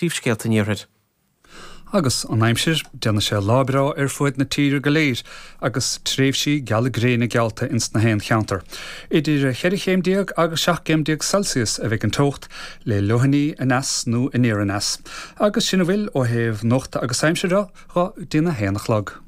Príomhscéalta an Iarthair. Agus an aimsir, déanfaidh sé lá breá ar fuaid na tíre go léir agus tréimhsí geala gréine geallta ins na haon cheantar. Idir cheithre chéim déag agus 17 gcéim Celsius a bheidh an teocht, le leoithní aneas nó aniar aneas. Agus sin a bhfuil ó thaobh nuachta agus aimsire dho go dtí'n 1 a chlog.